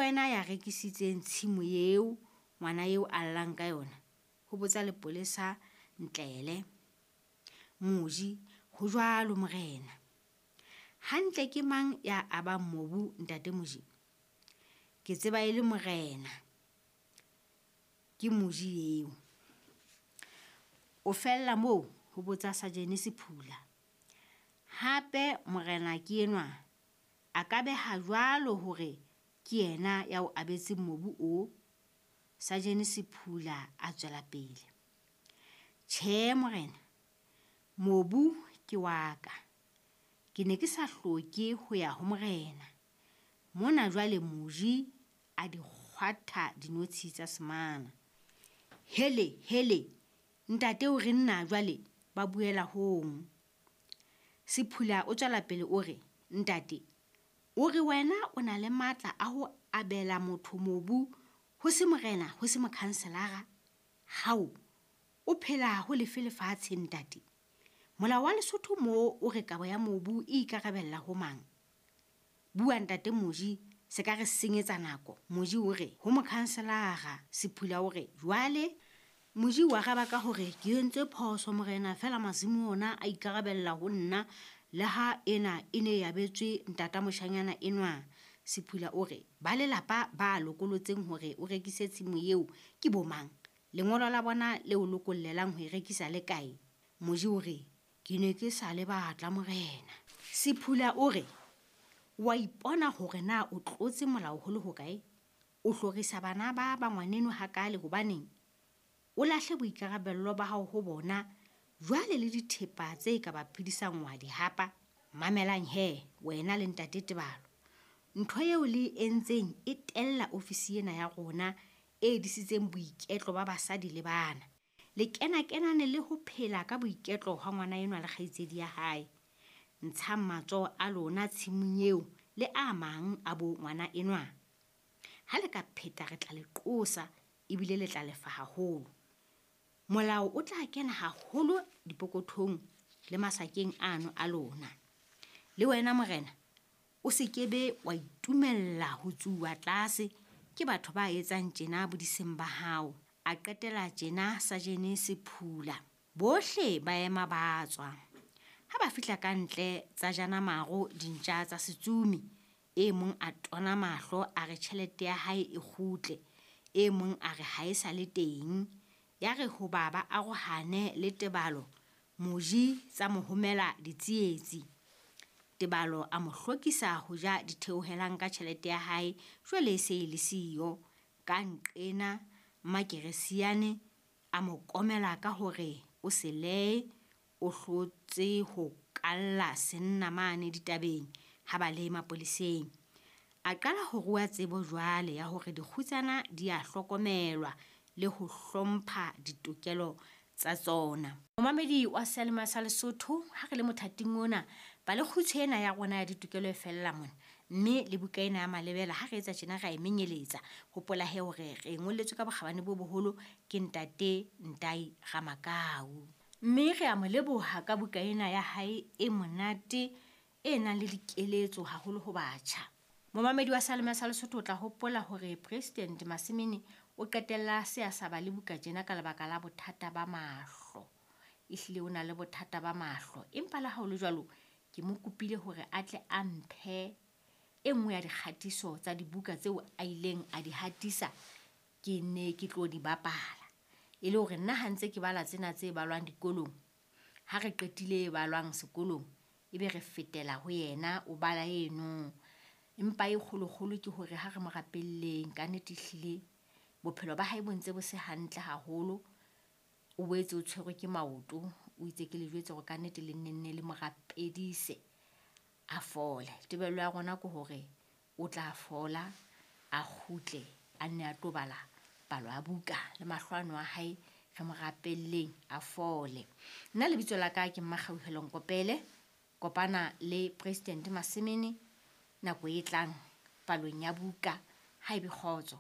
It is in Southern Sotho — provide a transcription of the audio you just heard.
wena ya rekisitseng tshimo eo ngwana eo a llang ka yona? Ho botsa lepolesa Ntlele. Moji, Ho jwalo morena. Hantle ke mang ya abang mobu ntate Moji? Ke tseba e le morena. Ke Moji eo. O fella moo? Ho botsa Sajene Sephula. Hape morena ke enwa a ka beha jwalo hore ke yena ya o abetseng mobu o? Sajene Sephula a tswela pele. Tjhe morena, mobu ke wa ka. Ke ne ke sa hloke ho ya ho morena. Mona jwale Moji a di kgwatha dinotshi tsa semana. Hele, hele, ntate o reng na jwale ba buela hong? Sephula o tswela pele o re, Ntate, o re wena o na le matla a ho abela motho mobu ho se morena ho se mokhanselara? Hao, o phela ho lefe lefatshe ntate? Molao wa Lesotho moo o re kabo ya mobu e ikarabella ho mang? Bua ntate Moji, se ka re senyetsa nako. Moji o re, ho mokhanselara. Sephula o re, jwale? Moji o araba ka hore, ke entse phoso morena, feela masimo ona a ikarabella ho nna, le ha ena e ne e abetswe ntata moshanyana enwa. Sephula o re, ba lelapa ba lokolotseng hore o rekise tshimo eo ke bo mang? Lengolo la bona le o lokollelang ho e rekisa le kae? Moji o re, Ke ne ke sa le batla morena. Sephula o re, Wa ipona hore na o tlotse molao ho le hokae? O hlorisa bana ba ba ngwaneno hakaale hobaneng? O lahle boikarabello ba hao ho bona, jwale le dithepa tse ka ba phedisang wa di hapa. Mamelang he, wena le ntate Tebalo. Ntho eo le e entseng e tella ofisi ena ya rona e disitseng boiketlo ba basadi le bana. Le kena-kenane le ho phela ka boiketlo hwa ngwana enwa le kgaitsedi ya hae. Ntshang matsoho a lona tshimong eo le a mang a bo ngwana enwa. Ha le ka pheta re tla le qosa ebile le tla lefa haholo. Molao o tla kena haholo dipokothong le masakeng ano a lona. Le wena morena, o se ke be wa itumella ho tsuwa tlase ke batho ba etsang tjena bodiseng ba hao. A qetela tjena Sajene Sephula. Bohle ba ema ba tswa. Ha ba fihla ka ntle tsa jana maro dintja tsa setsumi. E mong a tona mahlo a re tjhelete ya hae e kgutle, e mong a re ha e sa le teng. Ya re hoba ba arohane le Tebalo, Moji tsa mo homela ditsietsi. Tebalo a mo hlokisa ho ja ditheohelang ka tjhelete ya hae jwale e se e le siyo. Ka nqena Mmakeresiane a mo komela ka hore o selee o hlotse ho kalla senna mane ditabeng ha ba le mapoleseng. A qala ho rua tsebo jwale ya hore dikgutsana di a hlokomelwa le ho hlompha ditokelo tsa tsona. Momamedi wa Seyalemoya sa Lesotho, ha re le mothating ona, palekgutshwe ena ya rona ya ditokelo e fella mona. Mme le buka ena ya Malebela, ha re etsa tjena re a e menyeletsa. Hopola he hore re e ngolletswe ka bokgabane bo boholo ke Ntate Ntai Ramakau. Mme re a mo leboha ka buka ena ya hae e monate e nang le dikeletso haholo ho batjha. Momamedi wa Seyalemoya sa Lesotho o tla hopola hore President Masemene o qetella a se a sa bale buka tjena ka lebaka la bothata ba mahlo. Ehlile o na le bothata ba mahlo. Empa le ha ho le jwalo, ke mo kopile hore a tle a mphe e nngwe ya dikgatiso tsa dibuka tseo a ileng a di hatisa ke ne ke tlo di bapala. E le hore nna ha ntse ke bala tsena tse balwang dikolong, ha re qetile e balwang sekolong, ebe re fetela ho yena o bala eno. Empa e kgolokgolo ke hore ha re mo rapelleng, ka nnete ehlile bophelo ba hae bo ntse bo se hantle haholo. O boetse o tshwerwe ke maoto, o itse ke le jwetse hore ka nnete le nne nne le mo rapedise a fole. Tebello ya rona ke hore o tla fola, a kgutle, a nne a tlo bala palo ya buka le mahlo ano a hae, re mo rapelleng a fole. Nna lebitso la ka ke Mmakgauhelo Nkopele. Kopana le President Masemene nako e tlang palong ya buka. Ha ebe kgotso.